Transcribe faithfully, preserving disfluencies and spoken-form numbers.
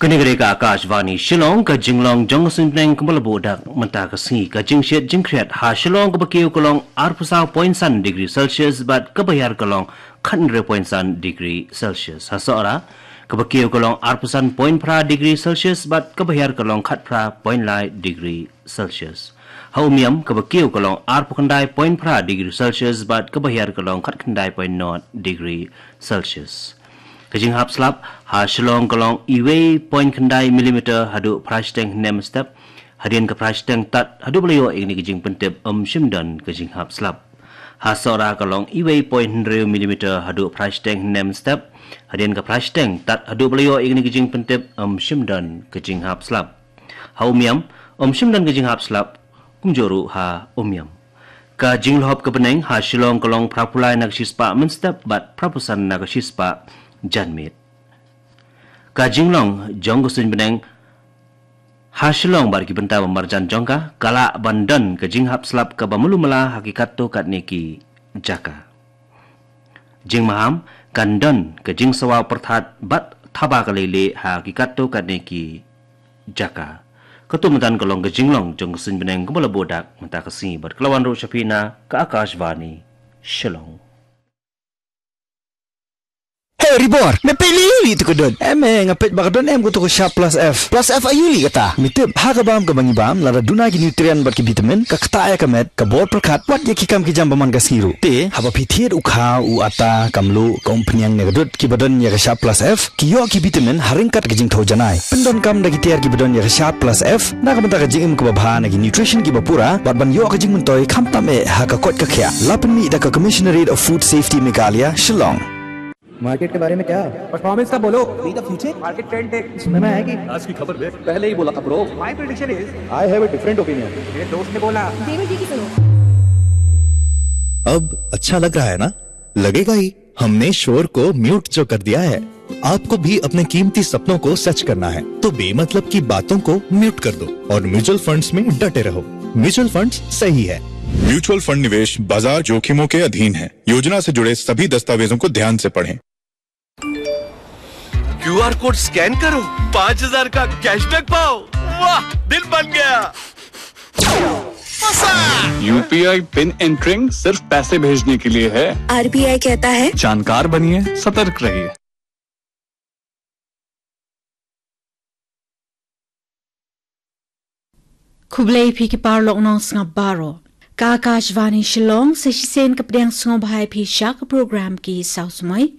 Kane ka dei ka Akashvani Shillong, ka jinglong jong ka suiñbneng kaba la buh dak mynta ka sngi. Ka jingshit jingkhriat ha Shillong kaba kiew ka long arphew saw point san degree Celsius bad kaba hiar ka long khathynriew point san degree Celsius. Ha Sohra kaba kiew ka long arphew san point phra degree Celsius bad kaba hiar ka long khatphra point lai degree Celsius. Ha Umiam kaba kiew ka long arphew khyndai point phra degree Celsius bad kaba hiar ka long khatkhyndai point nod degree Celsius. Ka jinghap slap ha Shillong ka long iwei point khyndai millimeter haduh phra shiteng hynne mynstep. Hadien ka phra shiteng tad haduh ba la ïoh ïa kane ka jingpyntip ym shym don ka jinghap slap. Ha Sohra ka long iwei point hynriew millimeter haduh phra shiteng hynne mynstep. Hadien ka phra shiteng tad haduh ba la ïoh ïa kane ka jingpyntip ym shym don ka jinghap slap. Ha Umiam ym shym don ka jinghap slap, kumjuh ruh ha Umiam. Ka jinglhop ka bneng ha Shillong ka long phraphew lai na ka shispah mynstep bad phraphew san na ka shispah janmiet. Ka jinglong jong ka suiñbneng ha Shillong bad ki bynta ba marjan jong ka, ka lah ban don ka jinghap slap kaba malu mala ha ki katto katne ki jaka. Jingmaham, kan don ka jingsawa pyrthat bad thaba ka leilieh ha ki katto katne ki jaka. Katto mynta ka long ka jinglong jong ka suiñbneng kaba la buh dak mynta ka sngi bad ka la wan ruh sha phi na ka Akashvani Shillong. Hey Ribor, me peit lei lei tu ka dud. Em eh, nga peit ba ka don em ka tu ka Sharp Plus F. Plus F aïu lei kata? Me tip, ha ka bam kaba ngi bam, lada duna ki nutrient bad ki vitamin, ka ktah ïa ka met, ka bor pyrkhat, wat ïa ki kam ki jam ba man ka sngi ruh. Te haba phi thied u khaw, u atta, ka mluh, ka umphniang ne ka dud kiba don ïa ka Sharp Plus F, ki ïoh ki vitamin ha ryngkat ka jingthew janai. Pyndonkam da ki tiar kiba don ïa ka Sharp Plus F na ka bynta ka jingim kaba bha, na ki nutrition kiba pura bad ban ïoh ka jingmyntoi khamtam eh ha ka koit ka khiah. La pynmih da ka Commissionerate of Food Safety Meghalaya, Shillong. मार्केट के बारे में क्या? परफॉर्मेंस का बोलो। बी द फ्यूचर। मार्केट ट्रेंड देख। सुनने में आया कि आज की खबर देख। पहले ही बोला था ब्रो। माय प्रेडिक्शन इज। आई हैव अ डिफरेंट ओपिनियन। मेरे दोस्त ने बोला। देवर जी की सुनो। अब अच्छा लग रहा है ना? लगेगा ही। हमने शोर को म्यूट जो कर दिया है। आपको भी अपने कीमती सपनों को सच करना है, तो बेमतलब की बातों को म्यूट कर दो और म्यूचुअल फंड्स में डटे रहो। म्यूचुअल फंड्स सही है। म्यूचुअल फंड निवेश बाजार जोखिमों के अधीन है। योजना से जुड़े सभी दस्तावेजों को ध्यान से पढ़ें। क्यूआर कोड स्कैन करो, पाँच हज़ार का कैशबैक पाओ। वाह, दिल बन गया। यूपीआई पिन एंटरिंग सिर्फ पैसे भेजने के लिए है। आरबीआई कहता है, जानकार बनिए, सतर्क रहिए। Khublei phi ki paralok nongsngap baroh. Ka Akashvani Shillong, sa shisien ka pdiang sngewbha ïa phi sha ka program Ki Saw Samoi.